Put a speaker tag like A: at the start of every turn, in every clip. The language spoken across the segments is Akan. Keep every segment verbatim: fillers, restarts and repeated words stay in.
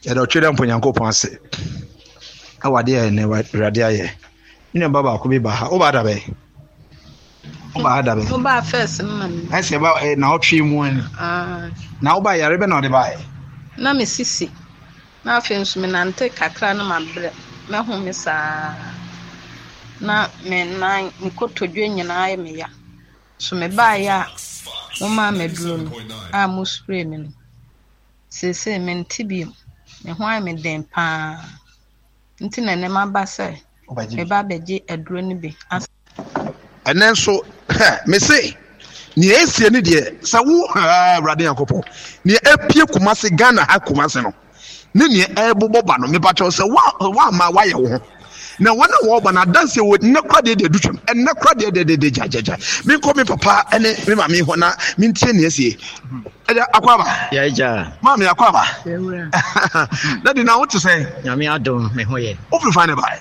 A: Yɛda ɔtwe dɛ mpo Nyankopɔn ase ɛwɔ adeɛ a ɛnɛ Awurade ayɛ. Me nua ba baako bi ba ha. Woba da bɛn? Woba ha da bɛn?
B: Woba first no na me.
A: Ɛsɛ ba eh, na ɔtwe mu ani.
B: Ah.
A: Na woba yare bɛ na ɔde baeɛ?
B: Na me sisi. Na afei nso menante kakra na mabrɛ. Mɛhome saa. Na me nan, me kotodwe nyinaa yɛ me ya. So mebaeɛ a momaa me aduro no a mo spray me no. Seesei mente bio. Me ho ayɛ me den paa. Nti na ɛnɛ maba sɛ meba abɛgye aduro no bi.
A: Ɛnɛ nso mese nea esie ne deɛ sɛ wo Awurade Nyankopɔn nea epie Kumase Ghana ha Kumase no ne nea ɛrebobɔ ba no mepakyɛw sɛ woama woayɛ wo ho na wɔn a wɔreba no adanse wɔ nnɛ kora deɛ deɛ du twam ɛnnɛ kora deɛ deɛ deɛ gyagyagya menkɔ me papa ne me maame hɔ na mentie nea esie ɛgya akɔ aba
C: yɛagya
A: maame akɔ aba dadi na wote sɛ
C: Nyame adom me ho yɛ.
A: Wofiri fan ne bae?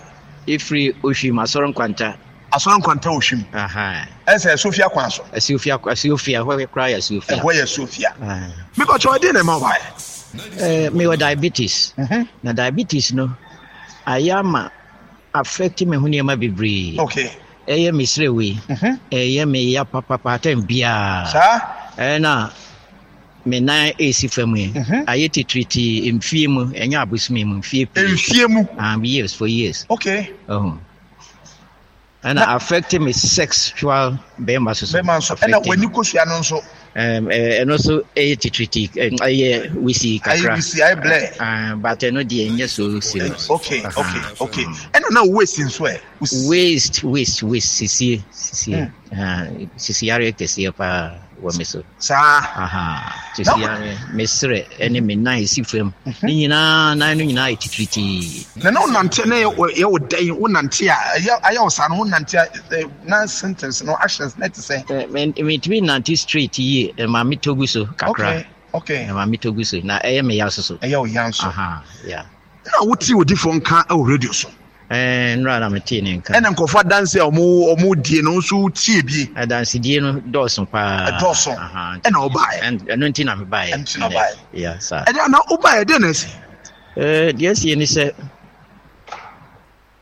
C: Ɛfiri Ohwim Asɔre Nkwanta.
A: Asɔre Nkwanta Ohwim. Ɛsɛ Sofia kwan so.
C: Asuofia Asuofia hɔ koraa yɛ Asuofia.
A: Ɛhɔ yɛ Asuofia. Mekɔkyɛ ɔde na ɛma wo bae?
C: Eh, mewɔ diabetes.
A: Mhm.
C: Na diabetes no ayɛ ama affect me ho nneɛma bebree.
A: Okay.
C: Ɛyɛ me serɛ wei.
A: Mhm.
C: Ɛyɛ me ya papapa atɛn biara.
A: Saa?
C: Ɛna me nan esi fam yi.
A: Mhm.
C: Ayɛ titiritii mfie mu, ɛnyɛ abosome mu, mfie pii.
A: Mfie mu.
C: Um, years for years.
A: Okay.
C: Oh. Ɛna affect me sexual bɛrima so so.
A: Bɛrima nso. Ɛna w'ani kosua no nso.
C: Um, ɛno nso ɛyɛ titiriti, ɛyɛ wisi kakra.
A: Ayɛ wisi, ayɛ blɛ.
C: Uh, but ɛno deɛ ɛnyɛ so serious.
A: Okay, okay, okay. Ɛna na waist nso ɛ?
C: Waist, waist, waist, sisie, sisie. Mm. Uh, sisi yare kɛseɛ paa wɔ me so.
A: Saa.
C: Aha, sisi yare, me serɛ ɛne me nan esi fam. Ne nyinaa, nan no nyinaa yɛ titiritii.
A: Na na wonante na yɛ wo dɛn? Wonante a, ɛyɛ ayɛ wo saa no, wonante a, na sentence no, actions na ɛte sɛ?
C: Mentumi nante straight yie, ɛma me tɔ gu so kakra.
A: Okay, okay.
C: Ɛma me tɔ gu so, na ɛyɛ me ya so so.
A: Ɛyɛ wo ya nso.
C: Aha, yeah.
A: Na wote odifoɔ nka wɔ radio so?
C: Ɛɛ, nnora na metee ne nka.
A: Ɛna nkurɔfoɔ adanse a wɔn wɔn die no nso tie bie.
C: Adansedie no dɔɔso paa.
A: Ɛdɔɔso. Ɛna wobaeɛ.
C: Ɛno nti na mebaeɛ.
A: Ɛno nti na wobaeɛ.
C: Yeah, saa.
A: Ɛdeɛ na wobaeɛ deɛ na asi?
C: Ɛɛ, deɛ asi ne sɛ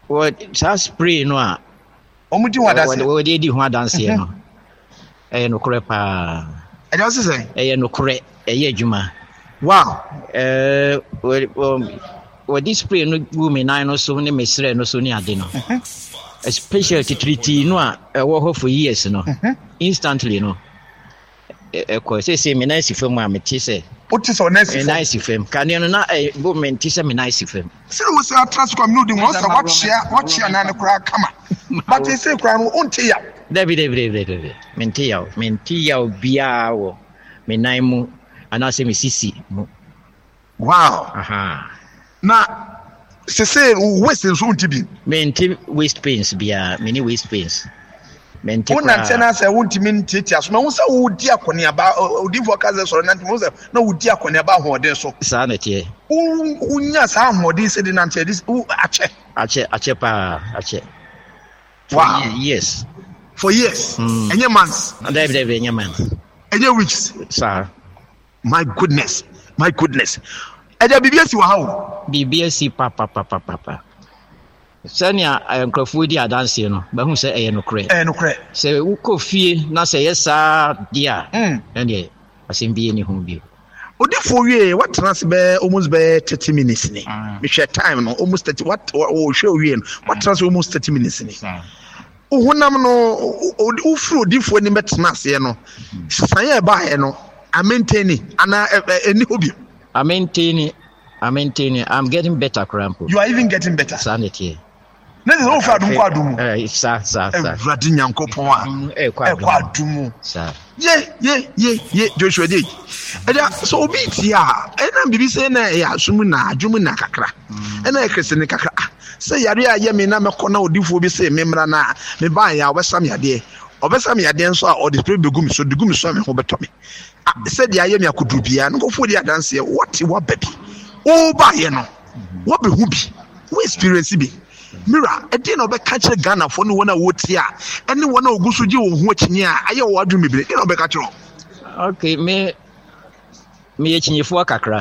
C: wɔ saa spray no a
A: wɔn di ho adanseɛ.
C: Wɔde di ho adanseɛ no. Ɛyɛ nokorɛ paa.
A: Ɛdeɛ ɔsi sɛ?
C: Ɛyɛ nokorɛ, ɛyɛ adwuma.
A: Wow.
C: Ɛɛ, wɔde spray no gu me nan no so ne me serɛ no so ne ade no. Especially titiritii no a ɛwɔ hɔ for years no. Instantly no. Ɛkɔ sese me nan si fam a mete sɛ.
A: Wote sɛ ɔnan si fam?
C: Me nan si fam. Kanea no na ɛbɔ me nte sɛ me nan si fam.
A: Sɛ wo sɛ atra so kwa me ne wodi ho sɛ wakyea wakyea nan no koraa kama. But sɛ koraa no wonte yaw.
C: Dabi dabi dabi dabi. Mente yaw. Mente yaw biara wɔ me nan mu anaasɛ me sisi mu.
A: Wow.
C: Aha.
A: Na sese waist nso wonte bi?
C: Mente waist pains biara. Me ne waist pains. Mente koraa.
A: Wonante na sɛ wontumi ntiatia so. Mahu sɛ wodi akɔneaba, odiyifoɔ ka sɛ sɔre nante, mahu sɛ na wodi akɔneaba ahoɔden so.
C: Saa na ɛteɛ.
A: Wonya saa ahoɔden sɛ de nante ɛde akyɛ.
C: Akyɛ, akyɛ paa, akyɛ.
A: Wow.
C: Years.
A: For years.
C: Mm.
A: Ɛnyɛ months.
C: Dabi dabi ɛnyɛ months.
A: Ɛnyɛ weeks.
C: Saa.
A: My goodness, my goodness. Ɛgya biribi asi wɔ ha o.
C: Biribi asi papapapapa. Sɛnea nkurɔfoɔ di adanseɛ no, bɛhu sɛ ɛyɛ nokorɛ.
A: Ɛyɛ nokorɛ.
C: Sɛ wokɔ fie na sɛ ɛyɛ saa deɛ a, ɛndeɛ asɛm bi nni ho bio.
A: Odifoɔ wie, watena ase bɛyɛ almost bɛyɛ thirty minutes ni. Mehwɛ time no, almost thirty, what wɔhwɛ owie no, watena ase almost thirty minutes ni. Honam no, wofiri odifoɔ anim bɛtena aseɛ no, sisan a ɛbaeɛ no, amaintaini anaa ɛni hɔ bio?
C: Amaintaini, amaintaini, I'm getting better koraa mpo.
A: You are even getting better.
C: Saa na ɛteɛ.
A: Ne sɛ wofiri adum kɔ adum mu.
C: Eh, saa saa saa.
A: Awurade Nyankopɔn a ɛkɔ adum mu.
C: Saa.
A: Ye ye ye ye Joshua de. Ɛda sɛ obi tie a ɛna biribi sɛ na ɛyɛ asom na adwom na kakra. Ɛna ɛyɛ kresene kakra. Ah, sɛ yare a ɛyɛ me na mɛkɔ na odifoɔ bi sɛ me mmra na me baa yɛ a ɔbɛsa me adeɛ. Ɔbɛsa me adeɛ nso a ɔde spray bɛgu me so, de gu me so a me ho bɛtɔ me. Ah, sɛ deɛ ayɛ me akoduru biara no nkurɔfoɔ di adanseɛ wɔte waba bi. Wobaeɛ no wɔbɛhu bi, wo experience bi. Mira, ɛdeɛ na ɔbɛka kyerɛ Ghanafoɔ ne wɔn a wɔtie a ɛne wɔn a wɔgu so gye wɔn ho akyinnye a ayɛ wɔn adwene bebree, ɛdeɛ na ɔbɛka kyerɛ wɔn?
C: Okay, me meyɛ kyinyifoɔ kakra.